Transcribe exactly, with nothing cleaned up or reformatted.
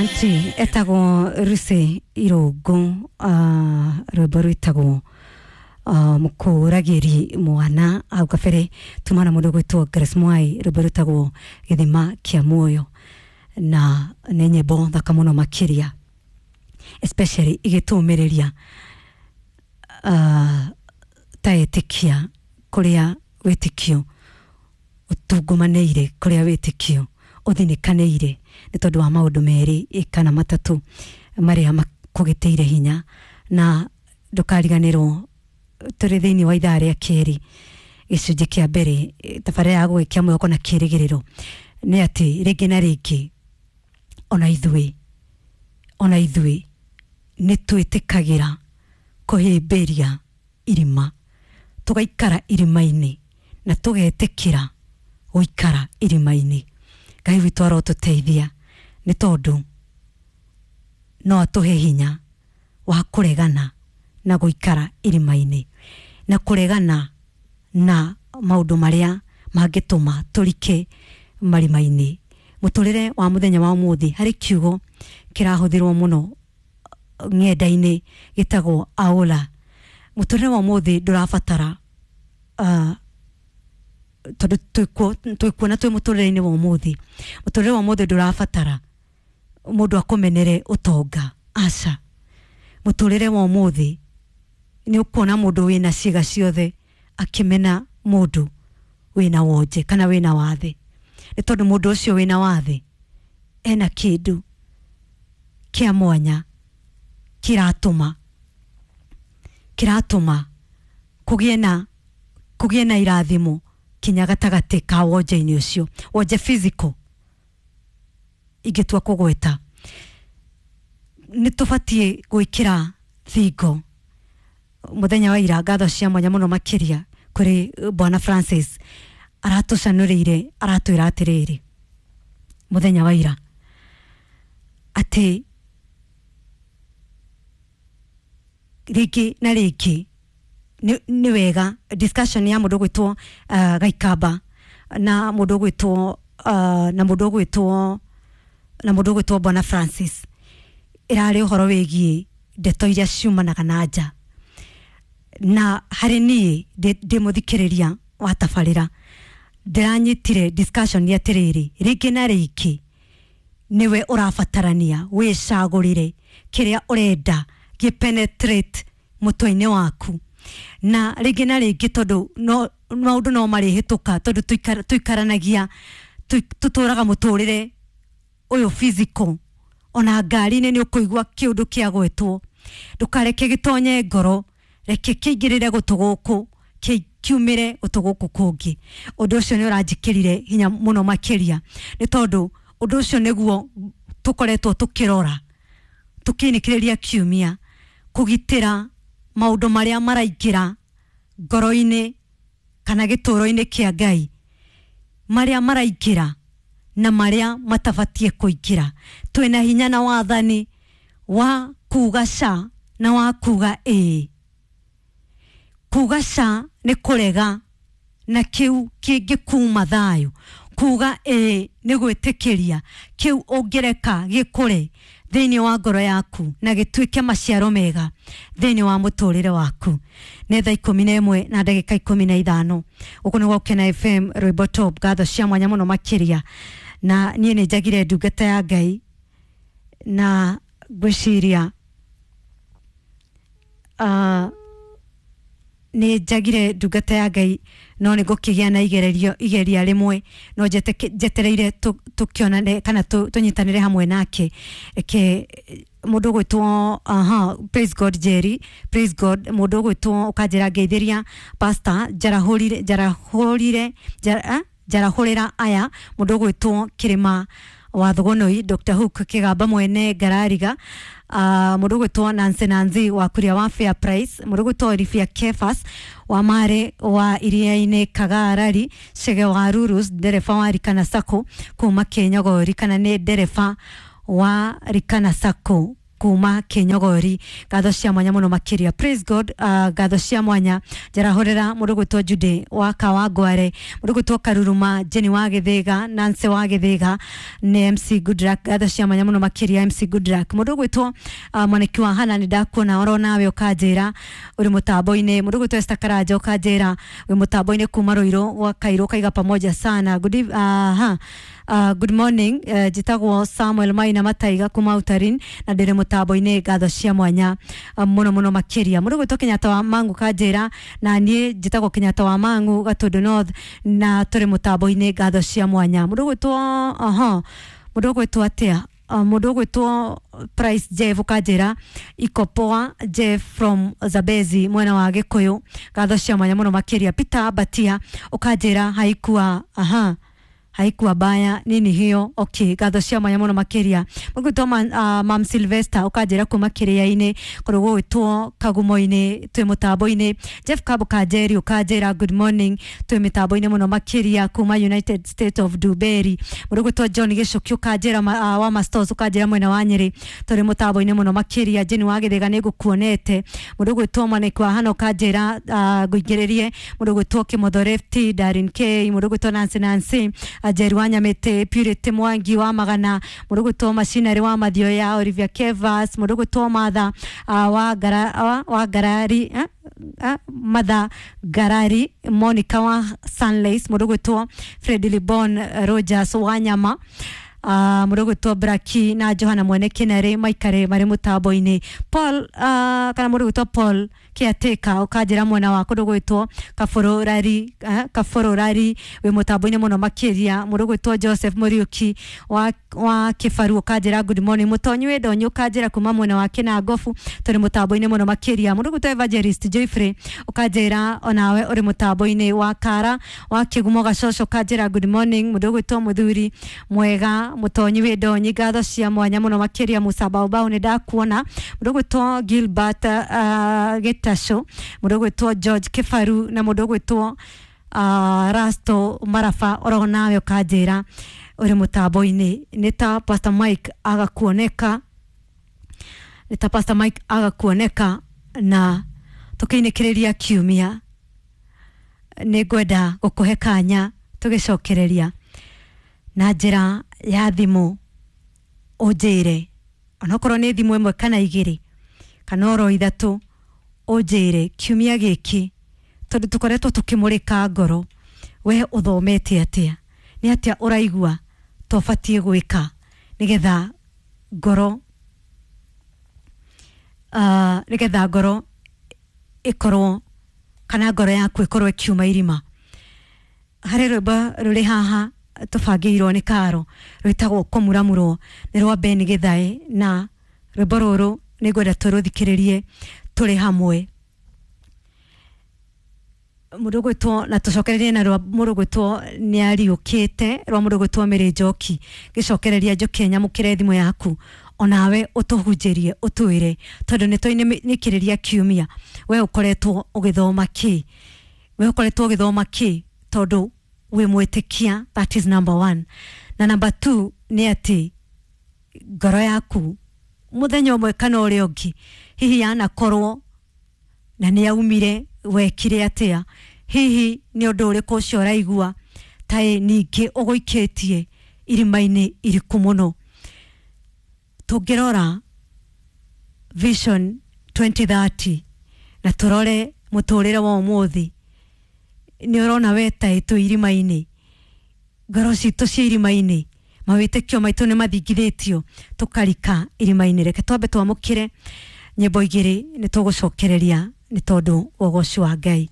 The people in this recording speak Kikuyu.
Asanti etagwo Lucy Irungu, uh, rwimbo rwitagwo uh, mukuragiri mwana. Hau kabere tumana mundu gwitwo Grace Mwai, rwimbo rwitagwo Githima kia Muoyo, na nĩ nyĩmbo thaka mũno makĩria, especially igĩtũmĩrĩria uh, ta ĩtĩkia kũrĩa wĩtĩkio ũtungumanĩire, kũrĩa wĩtĩkio ũthinĩkanĩire nĩ tondũ wa maũndũ merĩ kana matatũ marĩa makũgĩtĩire hinya. Na ndũkariganĩrwo tũrĩ thĩinĩ wa ithaa rĩa kerĩ, gĩcunjĩ kĩa mbere, tabarĩra ya gũgĩkia mwĩhoko na kĩrĩgĩrĩro, nĩ atĩ rĩngĩ na rĩngĩ ona ithuĩ ona ithuĩ nĩ twĩtĩkagĩra kũhĩmbĩria irima, tũgaikara irima-inĩ na tũgetĩkĩra gũikara irima-inĩ. Ngai witũ arotũteithia, nĩ tondũ no atũhe hinya wa kũregana na gũikara irima-inĩ na kũregana na maũndũ marĩa mangĩtũma tũrike marima-inĩ. Mũtũrĩre wa mũthenya wa ũmũthĩ, harĩ kiugo kĩrahũthĩrwo mũno ng'enda-inĩ gĩtagwo aũla. Mũtũrĩre wa ũmũthĩ ndũrabatara uh, tondũ twĩkuona twĩ mũtũrĩre-inĩ wa ũmũthĩ, mũtũrĩre wa ũmũthĩ ndũrabatara mũndũ akũmenere ũtonga, aca. Mũtũrĩre wa ũmũthĩ nĩ ũkuona mũndũ wĩna ciĩga ciothe akĩmena mũndũ wĩna wonje kana wĩna wathe, nĩ tondũ mũndũ ũcio wĩna wathe ena kĩndũ kĩa mwanya kĩratũma kĩratũma kũgĩe na kũgĩe na irathimo kinya gatagatĩ ka wonje-inĩ ũcio, wonje physical ingĩtua kũgweta. Nĩ tũbatiĩ gwĩkĩra thingo. Mũthenya wa ira, ngatho cia mwanya mũno makĩria kũrĩ Bwana Francis, aratũcanũrĩire, aratwĩra atĩrĩrĩ mũthenya wa ira atĩ rĩngĩ na rĩngĩ nĩ wega discussion ya mũndũ gwĩtwo uh, Gaikamba na mũndũ gwĩtwo uh, na mũndũ gwĩtwo na mũndũ gwĩtwo Bwana Francis ĩrarĩ ũhoro wĩgiĩ ndeto iria ciumanaga na nja. Na harĩ niĩ ndĩ mũthikĩrĩria wa tabarĩra, ndĩranyitire discussion ya atĩrĩrĩ, rĩngĩ na rĩngĩ nĩwe ũrabatarania wĩcagũrĩre kĩrĩa ũrenda gĩ penetrate mũtwe-inĩ waku. Na rĩngĩ na rĩngĩ tondũ no maũndũ no marĩhĩtũka, tondũ tũikaranagia, tũtũraga mũtũrĩre ũyũ physical, ona ngari-inĩ nĩ ũkũigua kĩũndũ kĩa gwetwo, ndũkareke gĩtonye ngoro, reke kĩingĩrĩre gũtũ gũkũ kiumĩre gũtũ gũkũ kũngĩ. Ũndũ ũcio nĩ ũranjĩkĩrire hinya mũno makĩria, nĩ tondũ ũndũ ũcio nĩguo tũkoretwo tũkĩrora tũkĩinĩkĩrĩria kiumia, kũgitĩra maũndũ marĩa maraingĩra ngoro-inĩ kana gĩtũũro-inĩ kĩa Ngai, marĩa maraingĩra na marĩa matabatiĩ kũingĩra. Twĩna hinya na wathani wa kuga ca na wa kuga ĩĩ. Kuga ca nĩ kũrega na kĩu kĩngĩkuma thayũ, kuga ĩĩ nĩ gwĩtĩkĩria kĩu ũngĩreka gĩkũre thĩinĩ wa ngoro yaku na gĩtuĩke maciaro mega thĩinĩ wa mũtũrĩre waku. Nĩ thaa ikũmi na ĩmwe na ndagĩka ikũmi na ithano. Gũkũ nĩ Gũkena F M, rwĩmbo top, ngatho cia mwanya mũno makĩria. Na niĩ nĩ njagire ndungata ya Ngai na ngwĩciria uh, nĩ njagire ndungata ya Ngai, no nĩ ngũkĩgĩa na igererio igeria rĩmwe, no njetereire tũkĩonane kana tũnyitanĩre hamwe nake. Reke mũndũ ũgwĩtwo, aha, praise God Jerry, praise God, mũndũ ũgwĩtwo ũkanjĩra ngeithĩria pastor njarahũrire njarahũrire njarahũrĩra aya, mũndũ ũgwĩtwo Kĩrĩma wa Thugunui, Doctor Hook Kĩgamba mwene Ngarariga, uh, mũndũ ũgwĩtwo Nancy Nancy wa Kuria wa Fair Price, mũndũ ũgwĩtwo Olivia Kefas wa Mare wa Iria-inĩ Kagarari, Chege wa Rurus, ndereba wa Rikana Sacco kuma Kĩnyogori, kana nĩ ndereba wa Rikana Sacco kuma Kinyogori, ngatho cia mwanya muno makiria. Praise God. uh, ngatho cia mwanya njarahurira mundu gwitwo Jude wa Kawangware, mundu gwitwo Karuruma, Jenny wa Githiga, Nancy wa Githiga ni M C Goodluck, ngatho cia mwanya muno makiria M C Goodluck. Mundu gwitwo uh, mwaniki wa Hana ni ndakuona oro nawe ukanjira uri mutambo-ini. Mundu gwitwo Esther Karanja ukanjira wi mutambo-ini kuma Ruiru gwa Kairu, kaiga pamoja sana. Good eve, uh, ha. Uh, good morning, uh, njitagwo Samuel Maina Mataiga kuma Utarin na ndiri mutambo-ini, ngatho cia mwanya uh, muno muno makiria. Mundu gwitwo Kenyatta wa Mangu kanjira na nie njitagwo Kenyatta wa Mangu Gatundu North na turi mutambo-ini, ngatho cia mwanya. Mundu gwitwo aha mundu gwitwo atia, uh, mundu gwitwo Price Jeff ukanjira iko poa, Jeff from Zabezi mwena wa Gikuyu, ngatho cia mwanya muno makiria. Peter Batia ukanjira haikuwa aha haikuwa baya nini hiyo, okay, ngatho cia mwanya muno makiria. Mũgwitwo ma, uh, Mam Sylvester ukanjira kuma kiria-ini kũrĩ gwitwo Kagumo-ini twi mutambo-ini. Jeff Kabo Kanjeri ukanjira good morning, twi mitambo-ini muno makiria kuma United States of Duberi. Mũgwitwo John Gicuki ukanjira uh, wa Mastos ukanjira mwena wa Nyeri turi mutambo-ini muno makiria. Jeni wa Githiga ni ngukuonete. Mũgwitwo Mwaniki wa Hana ukanjira uh, nguingiririe. Mũgwitwo Kimotho Lefty, Darin K, mũgwitwo Nancy Nancy Jerry wa Nyamete, Purity Mwangi wa Magana, mũndũ Machinery wa Mathioya, Olivia Kevas, mũndũ Matha uh, wa gara, wa, wa Garari eh? uh, Matha Garari, Monica wa Sunlace, mũndũ gwĩtwo Fred Libon Rogers wa Nyama, uh, mũndũ gwĩtwo Braki na Johana Mwene Kinere maikare marĩ mũtambo-inĩ. Paul uh, kana mũndũ gwĩtwo Paul Kiateka ukanjĩra mwena wa kũndũ gwĩtwo Kabororari, uh, Kabororari wĩ mũtambo-inĩ mũno makĩria. Mũndũ gwĩtwo Joseph Muriuki wa, wa Kĩbaru ukanjĩra good morning. Mũtonyi wĩ Ndonyi ukanjĩra kuma mwena wa Kĩnangobu tũrĩ mũtambo-inĩ mũno makĩria. Mũndũ gwĩtwo Evangelist Joyfrey ukanjĩra onawe ũrĩ mũtambo-inĩ. Wa Kara wa Kĩgumo Gacoco ukanjĩra good morning. Mũndũ gwĩtwo Mũthuri Mwega Mũtonyi wĩ Ndonyi, ngatho cia mwanya mũno makĩria. Musa Baobao nĩ ndakuona. Mũndũ gwĩtwo Gilbert uh, Gĩtacũ, mũndũ gwĩtwo George Kĩbaru na mũndũ gwĩtwo uh, Rasto Marafa oro nawe ukanjĩra ũrĩ mũtambo-inĩ. Nĩ ta Pastor Mike agakuoneka, nĩ ta Pastor Mike agakuoneka na tũkĩinĩkĩrĩria kiumia. Nĩ ngwenda gũkũhe kanya tũgĩcokereria na njĩra ya thimũ ũnjĩre, onokorwo nĩ thimũ ĩmwe kana igĩrĩ kana oro ithatũ, ũnjĩre kiumia gĩkĩ tondũ tũkoretwo tũkĩmũrĩka ngoro, we ũthomete atĩa, nĩ atĩa ũraigua tũbatiĩ gwĩka nĩgetha ngoro uh, nĩgetha ngoro ĩkorwo kana ngoro yaku ĩkorwo ĩkiuma irima. Harĩ rwĩmbo rũrĩ haha tũbangĩirwo nĩ Karo rwĩtagwo kũmuramurwo, nĩ rwa Ben Githae, na rwĩmbo rũrũ nĩ ngwenda tũrũthikĩrĩrie tũrĩ hamwe. Mũndũ gwĩtwo na tũcokererie na rwa mũndũ gwĩtwo nĩ ariũkĩte rwa mũndũ gwĩtwo Mary Njoki. Gĩcokereria njũke nyamũkĩre thimũ yaku onawe ũtũhunjĩrie ũtwĩre, tondũ nĩ twainĩkĩrĩria kiumia we ũkoretwo ũgĩthoma kĩ, we ũkoretwo ũgĩthoma kĩ, tondũ wĩ mwĩtĩkia, that is number one. Na number two nĩ atĩ ngoro yaku mũthenya ũmwe kana ũrĩa ũngĩ hihi yanakorwo na nĩ yaumire, wekire atĩa, hihi nĩ ũndũ ũrĩkũ ũcio ũraigua ta ningĩ ũgũikĩtie irima-inĩ iriku mũno. Tũngĩrora Vision twenty thirty na tũrore mũtũrĩre wa ũmũthĩ, nĩ ũrona we ta twĩ irima-inĩ, ngoro citũ ciĩ irima-inĩ, mawĩtĩkio maitũ nĩ mathingithĩtio tũkarika irima-inĩ. Reke twambe twamũkĩre nyĩmbo igĩrĩ nĩ tũgũcokereria nĩ tondũ wa ũgoci wa Ngai.